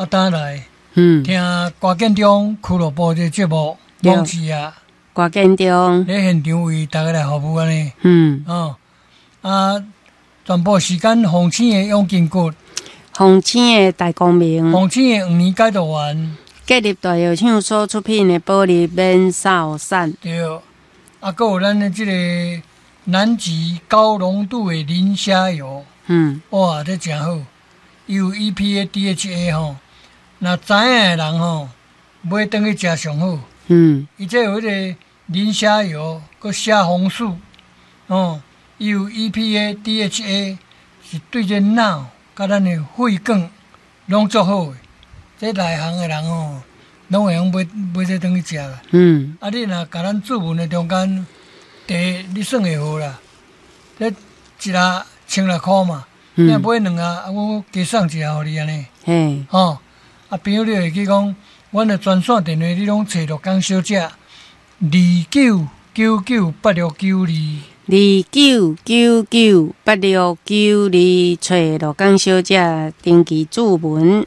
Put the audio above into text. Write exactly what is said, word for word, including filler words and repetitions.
啊，轉來嗯，聽歌建中俱樂部這個節目，對網誌啊，歌建中，咧現場為大家來服務按呢，嗯，哦，啊，全部時間鳳星的養筋骨，鳳星的大光明，鳳星的黃連解毒丸，國立大藥廠所出品的保利免掃散，對，啊，閣有咱的這個南極高濃度的磷蝦油，嗯，哇，這誠好，伊有 E P A、D H A 吼，若知影的人吼，買轉去食上好。嗯，伊這有彼個磷蝦油，閣蝦紅素，哦，伊有 E P A、D H A，是對這腦佮咱的血管攏足好的。這內行的人吼，攏會用買買這轉去食啦。嗯，啊，你若共咱注文的中間，茶你算會好啦。這一盒千六箍嘛，你若買兩盒，啊，我加送一盒予你按呢。嘿，吼，啊，朋友你會記講，阮的專線電話你攏揣鹿港小姐，二九九九八六九二，二九九九八六九二，揣鹿港小姐登記注文。